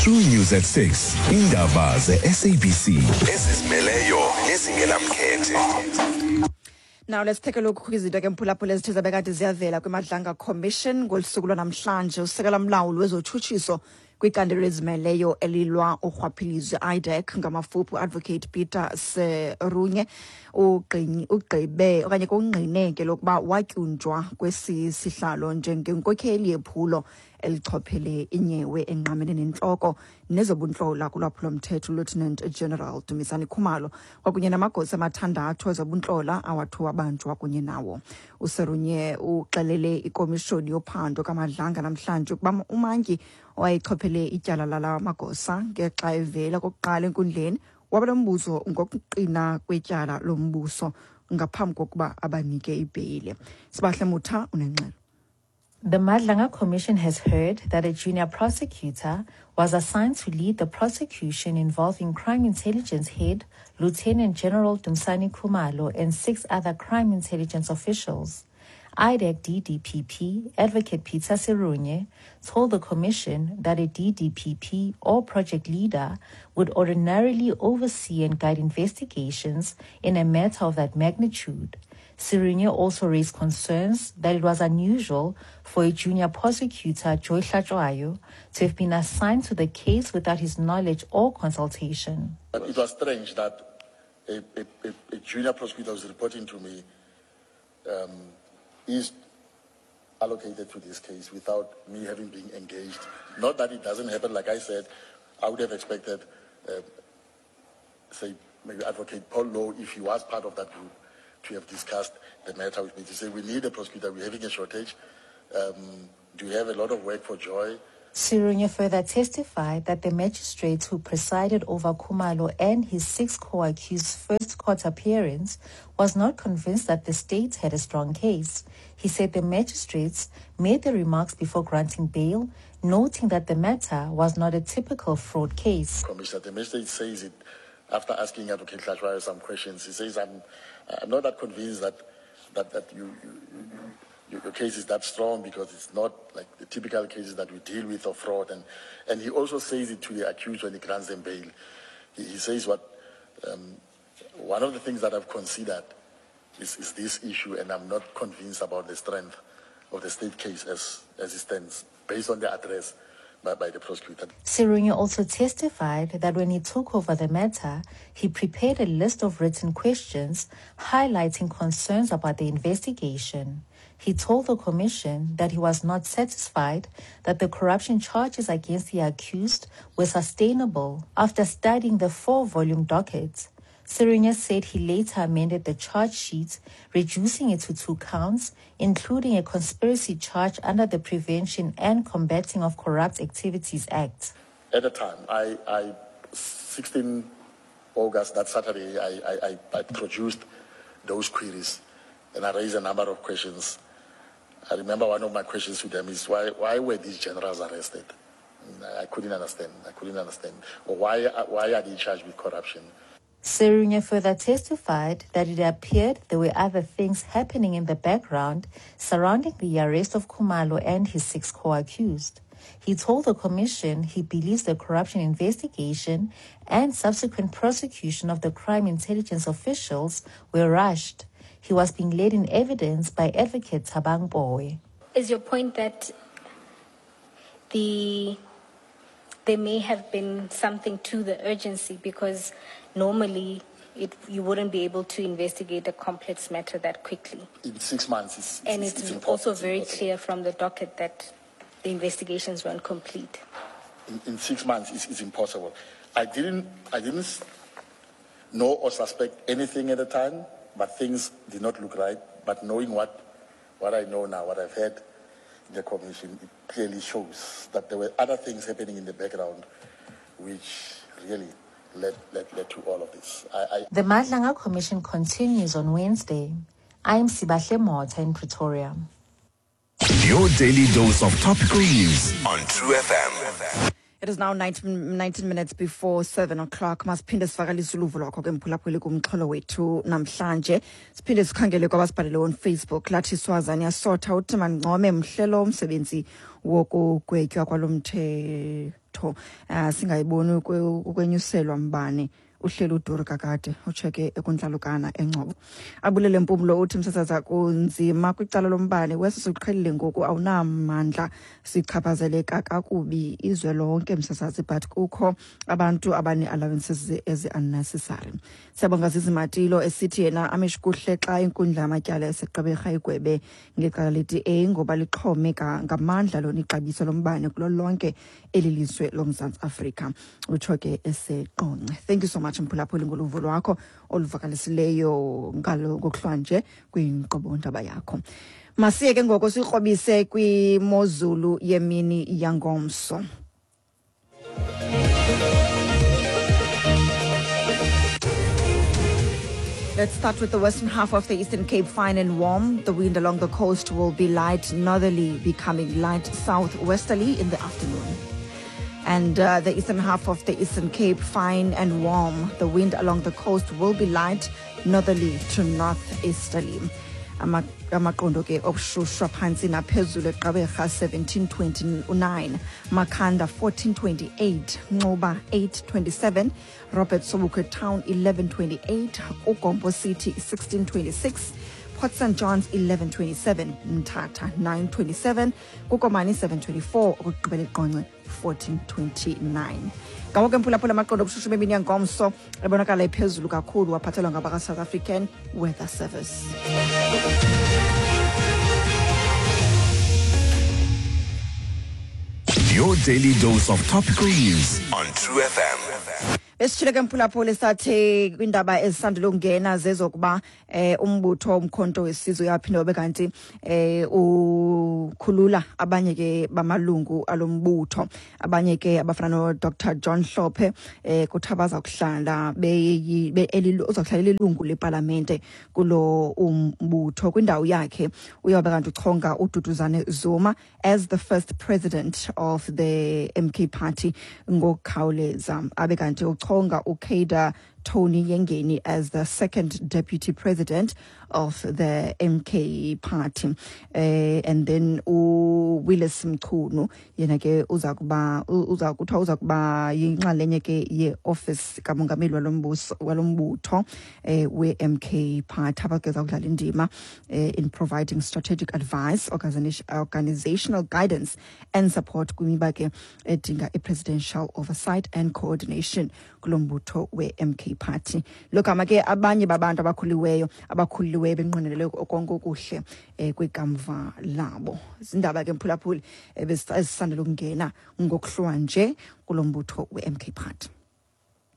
True News at 6. Indaba ze-SABC ezizimeleyo nezingenamkhethe. Now let's take a look kwizinto ke mphulaphula ezithe zabe kade ziyavela kwiMadlanga Commission ngolu suku lwanamhlanje. Usekela mlawuli wezotshutshiso kwicandelo elizimeleyo elilwa urhwaphilizo IDAC ngamafuphi uadvocate Peter Serunye ugqibe okanye kungqine ke lokuba watyunjwa kwesi sihlalo njengenkokheli yephulo elichophele inyewe engqamene nentloko nezobuntlola kulwaphulomthetho uLieutenant General Dumisani Khumalo kwakunye namagosa amathandathu ezobuntlola awathi wabanjwa kunye nawo. USerunye uxelele ikomishoni yophando kaMadlanga namhlanje ukuba umantyi owayechophele ityala lala magosa ngexa evela kokuqala enkundleni waba nombuzo ngokuqina kwetyala lombuso ngaphambi kokuba abanike ibheyile. Sibahle Mutha unengxelo. The Madlanga Commission has heard that a junior prosecutor was assigned to lead the prosecution involving crime intelligence head Lieutenant General Dumisani Khumalo and 6 other crime intelligence officials. IDAC DDPP Advocate Peter Serunye told the commission that a DDPP or project leader would ordinarily oversee and guide investigations in a matter of that magnitude. Serunye also raised concerns that it was unusual for a junior prosecutor, Joy Hlatshwayo, to have been assigned to the case without his knowledge or consultation. But it was strange that a junior prosecutor was reporting to me is allocated to this case without me having been engaged. Not that it doesn't happen, like I said, I would have expected, say, maybe Advocate Paul Louw, if he was part of that group, to have discussed the matter with me, to say, we need a prosecutor, we're having a shortage. Do you have a lot of work for Joy? Serunye further testified that the magistrate who presided over Khumalo and his 6 co-accused first court appearance was not convinced that the state had a strong case. He said the magistrates made the remarks before granting bail, noting that the matter was not a typical fraud case. Commissioner, the magistrate says it after asking Advocate Hlatshwayo some questions. He says, I'm not that convinced that your case is that strong because it's not like the typical cases that we deal with of fraud. And he also says it to the accused when he grants them bail. He says one of the things that I've considered is this issue, and I'm not convinced about the strength of the state case as it stands, based on the address by the prosecutor. Serunye also testified that when he took over the matter, he prepared a list of written questions highlighting concerns about the investigation. He told the commission that he was not satisfied that the corruption charges against the accused were sustainable after studying the 4-volume docket. Serunye said he later amended the charge sheet, reducing it to 2 counts, including a conspiracy charge under the Prevention and Combating of Corrupt Activities Act. At the time, I 16 August, that Saturday, I produced those queries and I raised a number of questions. I remember one of my questions to them is, why were these generals arrested? I couldn't understand. I couldn't understand. Or why are they charged with corruption? Serunye further testified that it appeared there were other things happening in the background surrounding the arrest of Khumalo and his 6 co-accused. He told the commission he believes the corruption investigation and subsequent prosecution of the crime intelligence officials were rushed. He was being led in evidence by Advocate Thabang Pooe. Is your point that there may have been something to the urgency, because normally you wouldn't be able to investigate a complex matter that quickly? In 6 months, And it's it's impossible. also very clear from the docket that the investigations weren't complete. In 6 months, it's impossible. I didn't know or suspect anything at the time, but things did not look right. But knowing what I know now, what I've heard in the commission, it clearly shows that there were other things happening in the background which really led to all of this. The Madlanga Commission continues on Wednesday. I am Sibahle Motha in Pretoria. Your daily dose of topical news on True FM. It is now 19 minutes before 7 o'clock. Masiphinde sivakalise uluvo lwakho ke mphulaphuli kumxholo wethu namhlanje. Siphinde sikhangele kwabasibhalele on Facebook. Lathi Swazane yasotha uthi mancome mhlelo umsebenzi wokugwetywa kwalo mthetho imithetho, singayiboni ukwenyuselwa mbane uhleli uduru kakade, utsheke ekuntlalukana eNgcobo. Abulele Mpumlo uthi, msasaza, kunzima kwicala lombane wesi siqhelile ngoku, awunamandla, sichaphazeleka kakubi izwe lonke, msasazi, but kukho abantu abane-allowances ezi-unnecessary. Siyabonga Zizimatilo esithi yena amish kuhle xa inkundla yamatyala eseGqeberha igwebe ngecala le-DA ngoba lixhome ngamandla lona ixabiso lombane kulo lonke eli lizwe loMzantsi Afrika, utsho ke eseQonce. Thank you so much, mphulaphuli, ngoluvo lwakho oluvakalisileyo ngalo ngokuhlwanje kwinkqubo ndaba yakho. Masiye ke ngoko sikrobise kwimozulu yemini yangomso. Let's start with the western half of the Eastern Cape, fine and warm. The wind along the coast will be light northerly, becoming light southwesterly in the afternoon. And the eastern half of the Eastern Cape, fine and warm. The wind along the coast will be light northerly to northeasterly. Amaqondo ke obushushu phantsi naphezulu: eGqeberha 1729, Makhanda 1428, Nxuba 827, Robert Sobukwe Town 1128, uGompo City 1626, Port St Johns 1127, Mthatha 927, kuKomani 724, okugqibela iQonce 1429. Ngawo ke, mphulaphula, amaqondo obushushu bemini yangomso ebonakala iphezulu kakhulu, waphathelwa ngabaka-South African Weather Service. Your daily dose of topical news on True FM. Besitshile ke, mphulaphula, sathe kwiindaba ezisandula ukungena zezokuba umbutho Umkhonto Wesizwe uyaphinda wabe kanti ukhulula abanye ke bamalungu alombutho, abanye ke abafana no-Dr John Hlophe, kuthiwa baza kuhlala uza kuhlala elilungu lepalamente kulo umbutho. Kwindawo yakhe uyawube kanti uchonga uDuduzane Zuma as the first president of the MK Party ngokukhawuleza, abe kanti uchonga uCader Tony Yengeni as the second deputy president of the MK Party. And then uWillies Mchunu yena ke uza kuba uza kuthiwa uza kuba yinxalenye ke ye-office kamongameli walombuso walombutho we-MK Party, abageza kudlala indima in providing strategic advice, organizational guidance and support kwimiba ke edinga i-presidential oversight and coordination kulo mbutho we-MK Party. Logama ke abanye babantu abakhululiweyo benqwenelele konke okuhle kwikamva labo. Zindaba ke, mphulaphuli, ezisandela ukungena ngokuhlwa nje kulo mbutho we-MK Party.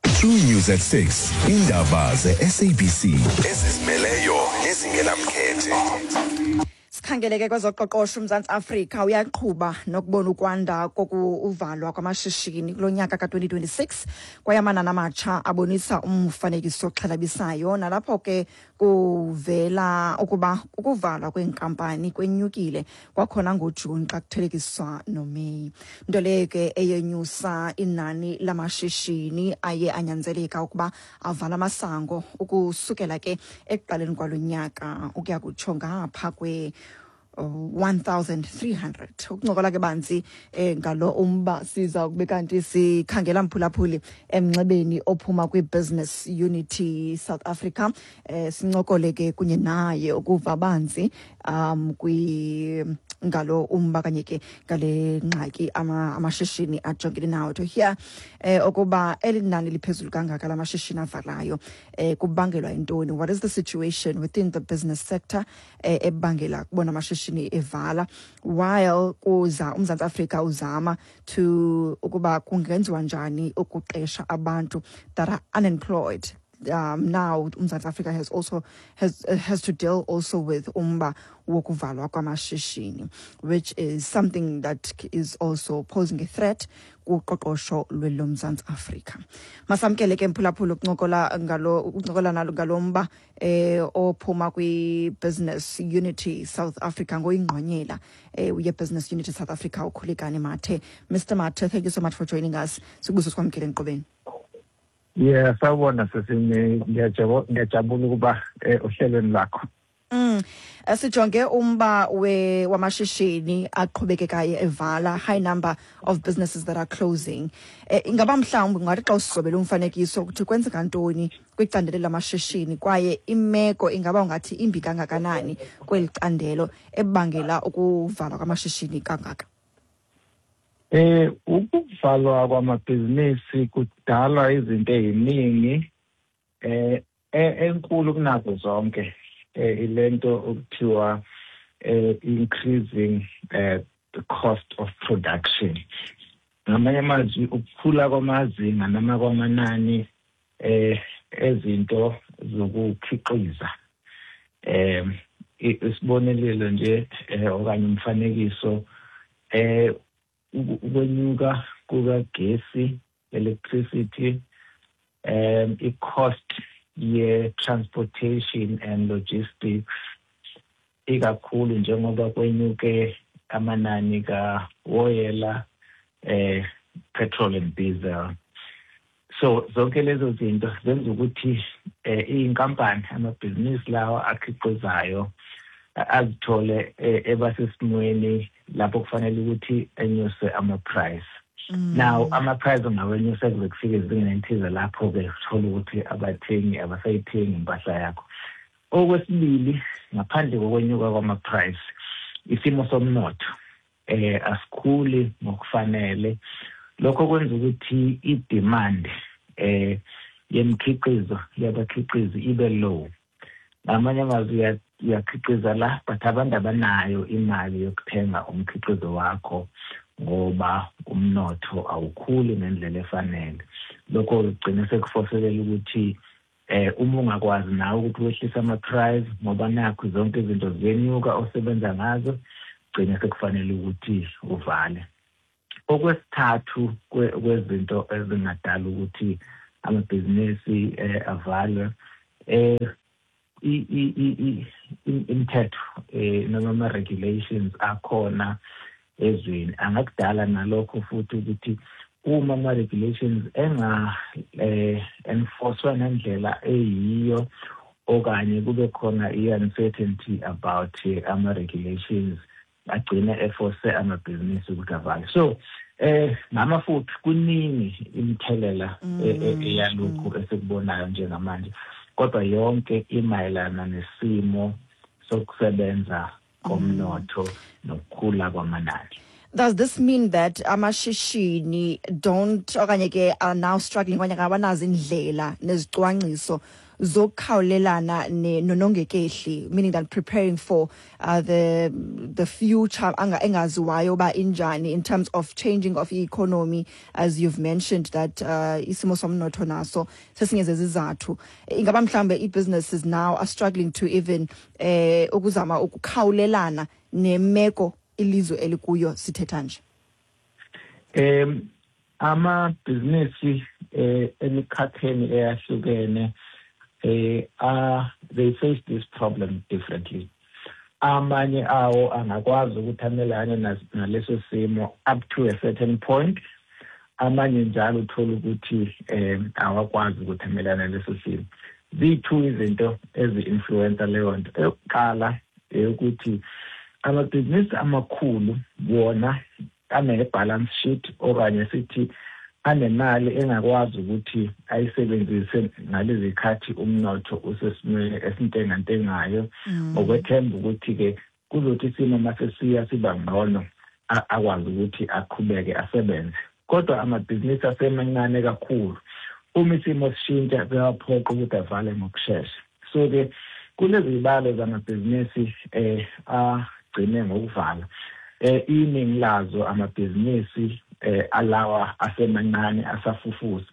True News at 6. Indaba ze-SABC ezizimeleyo nezingenamkhethe. Sikhangele ke kwezoqoqosho. UMzantsi Afrika uyaqhuba nokubona ukwanda kokuvalwa kwamashishini kulo nyaka ka-2026, kwaye amanani amatsha abonisa umfanekiso oxhalabisayo, nalapho ke kuvela ukuba ukuvalwa kweenkampani kwenyukile kwakhona ngoJuni xa kuthelekiswa noMeyi, nto leyo ke eyenyusa inani lamashishini aye anyanzeleka ukuba avala amasango ukusukela ke ekuqaleni kwalo nyaka ukuya kutsho ngapha kwe 1300. Ukuncokola ke banzi ngalo umba siza kube kanti sikhangela, mphulaphuli, emnxebeni ophuma kwi-Business Unity South Africa, sincokole ke kunye naye ukuva banzi kwi ngalo umba kanye ke ngale ngxaki amashishini ajongene nawo, to hear okuba eli nani liphezulu kangaka lamashishini avalayo kubangelwa yintoni, what is the situation within the business sector ebangela kubona amashishini evala, while kuza uMzantsi Afrika uzama to ukuba kungenziwa njani ukuqesha abantu that are unemployed. Now uMzantsi Afrika has also has to deal also with umba wokuvalwa kwamashishini, which is something that is also posing a threat kuqoqosho lwelomzantsi Afrika. Masamkele ke, mphulaphula, ukuncokola nalo ngalo mba ophuma kwi-Business Unity South Africa, ngoyingqonyela ye-Business Unity South Africa, uKhulekani Mathe. Mr Mathe, thank you so much for joining us. Sikubuso sikwamkele enkqubeni. Yeah, sawubona sisimi, ngiyajabula ukuba ohlelweni lakho. Sijonge umba we wamashishini aqhubekekayo evala, high number of businesses that are closing. Ingaba mhlawumbi ungathi xa usizobela umfanekiso ukuthi kwenzeka ntoni kwicandelo lamashishini, kwaye imeko ingaba ungathi imbi kangakanani kweli candelo ebangela ukuvalwa kwamashishini kangaka? Ukuvalwa kwamabhizinisi kudalwa izinto eziningi. Enkulu kunazo zonke ilento okuthiwa increasing the cost of production. Ngamanye amazwi, ukukhula kwamazinga noma kwamanani ezinto zokukhiqiza. Isibonelelo nje okanye umfanekiso, ukwenyuka kukagesi, electricity, i-cost ye-transportation and logistics, ikakhulu njengoba kwenyuke amanani kawoyela, petrol and diesel. So zonke lezo zinto zenza ukuthi iy'nkampani, amabhizinisi lawa akhiqizayo, azithole ebasesimweni lapho kufanele ukuthi enyuse ama-price. Now ama-price ungawenyusa kuze kufike ezingeni elithize, lapho-ke uthola ukuthi abathengi abasayithengi impahla yakho. Okwesibili, ngaphandle kokwenyuka kwama-price, isimo somnotho asikhuli ngokufanele. Lokho kwenza ukuthi i-demand yemikhiqizo yabakhiqizi ibe low. Ngamanye amazwi, uyakhiqiza la, but abantu abanayo imali yokuthenga umkhiqizo wakho ngoba umnotho awukhuli ngendlela efanele. Lokho kugcina sekufoselela ukuthi uma ungakwazi nawe ukuthi wehlise ama-price, ngoba nakho zonke izinto ziyenyuka osebenza ngazo, gcine sekufanele ukuthi uvale. Okwesithathu kwezinto ezingadala ukuthi amabhizinisi avalwe, imithetho noma ama-regulations akhona ezweni angakudala nalokho futhi, ukuthi uma ama-regulations enga enforcwa ngendlela eyiyo okanye kube khona i-uncertainty about ama-regulations, agcine eforce amabhizinisi ukuthi avale. So ngamafuphi, kuningi imithelela eyalokhu esikubonayo njengamanje, kodwa yonke imayelana nesimo sokusebenza komnotho nokukhula kwamanani. Does this mean that amashishini don't okanye ke are now struggling okanye abanazo indlela nezicwangciso zokukhawulelana nonongekehli, meaning that preparing for the future engaziwayo uba injani in terms of changing of economy, as you've mentioned that isimo somnotho naso sesinye zezizathu? Ingaba mhlambe i-businesses now are struggling to even ukuzama ukukhawulelana nemeko ilizwe elikuyo sithetha nje? Amabhizinisi emikhakheni eyahlukene are they face this problem differently. Amanye awo angakwazi ukuthi amelane naleso simo up to a certain point, amanye njalo uthola ukuthi awakwazi ukuthi amelane naleso simo. Ziyi-two izinto ezi-influencer leyo nto. Eyokuqala eyokuthi amabhizinisi amakhulu wona ane-balance sheet, okanye sithi anemali engakwazi ukuthi ayisebenzise ngalezi khathi umnotho usesimweni esintengantengayo, ngokwethemba ukuthi-ke kuzothi isimo masesiya siba ngcono akwazi ukuthi aqhubeke asebenze. Kodwa amabhizinisi asemancane kakhulu, uma isimo sishintsha kuyaphoqa ukuthi avale ngokushesha. So-ke kulezi zibalo zamabhizinisi agcine ngokuvala, iningi lazo amabhizinisi alawa asemancane asafufusa.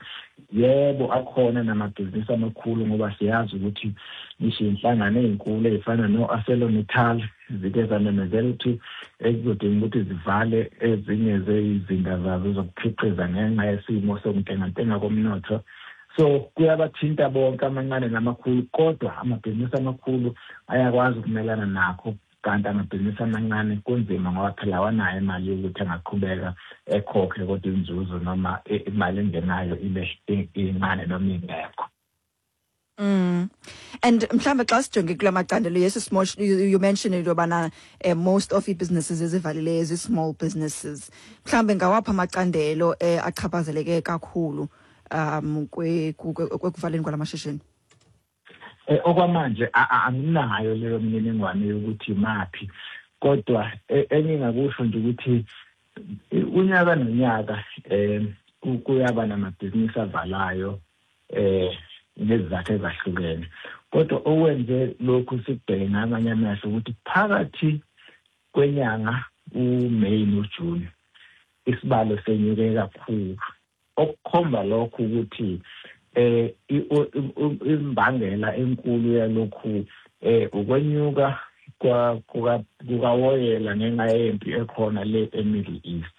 Yebo, akhona namabhizinisi amakhulu, ngoba siyazi ukuthi ngisho inhlangano ey'nkulu ey'fana no-ArcelorMittal zike zamemezela ukuthi ekuzodinga ukuthi zivale ezinye zeyizinda zazo zokukhiqiza ngenxa yesimo sokuntengantenga komnotho. So kuyabathinta bonke, amancane namakhulu, kodwa amabhizinisi amakhulu ayakwazi ukumelana nakho, kanti amabhizinisi amancane kunzima, ngoba phela awanayo imali yokuthi angaqhubeka ekhokhe kodwa inzuzo noma imali engenayo ibe incane noma ingekho. And mhlawumbe xa sijonge kula macandelo, yes, small, you mentioned into yobana most of ii-businesses ezivalileyo zii-small businesses. Mhlawumbe ngawaphi amacandelo achaphazeleke kakhulu kwekuvaleni kwala mashishini? Okwamanje anginayo leyo mininingwane yokuthi maphi, kodwa engingakusho nje ukuthi unyaka nonyaka kuyaba namabhizinisi avalayo ngezizathu ezahlukene. Kodwa okwenze lokhu sikubheke ngamanye amehlo ukuthi phakathi kwenyanga uMay noJune isibalo senyuke kakhulu, okukhomba lokho ukuthi imbangela enkulu yalokhu ukwenyuka kukawoyela ngenxa yempi ekhona le eMiddle East.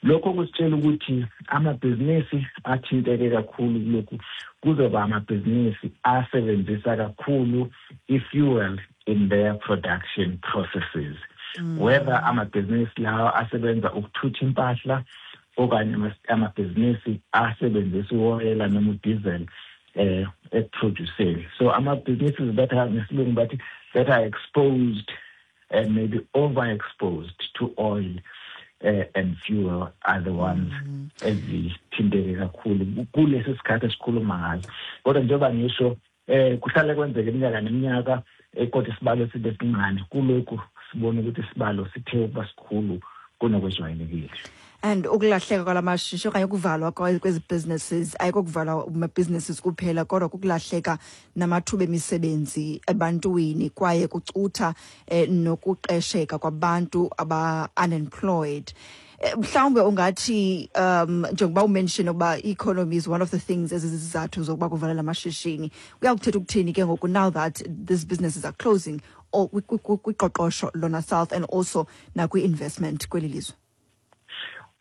Lokho kusitshela ukuthi amabhizinisi athinteke kakhulu kulokhu kuzoba amabhizinisi asebenzisa kakhulu i-fuel in their production processes, whether amabhizinisi lawa asebenza ukuthutha impahla okanye amabhizinisi asebenzisa uwoyela noma udiesel ekuproduceni. So ama-businesses that are, ngesilungu bathi, that are exposed and maybe overexposed to oil and fuel are the ones ezithinteke kakhulu kulesi sikhathi esikhuluma ngaso. Kodwa njengoba ngisho, kuhlale kwenzeka iminyaka neminyaka, kodwa isibalo sibe sincane. Kulokhu sibona ukuthi isibalo sithe ukuba sikhulu kunokwejwayelekile. And ukulahleka kwalamashishini okanye ukuvalwa kwezi businesses ayikokuvalwa ama-businesses kuphela, kodwa kukulahleka namathuba emisebenzi ebantwini, kwaye kucutha nokuqesheka kwabantu aba-unemployed. Mhlawumbe ungathi, njengoba umention ukuba i-economy is one of the things ezizizathu zokuba kuvalwe amashishini, kuyakuthetha ukuthini ke ngoku now that these businesses are closing or kwiqoqosho lona south and also nakwi-investment kweli lizwe?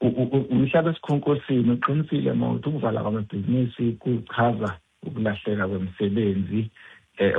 Umhlaba esikhonkosini, uqinisile mawuthi ukuvala kwamabhizinisi kuchaza ukulahleka kwemisebenzi.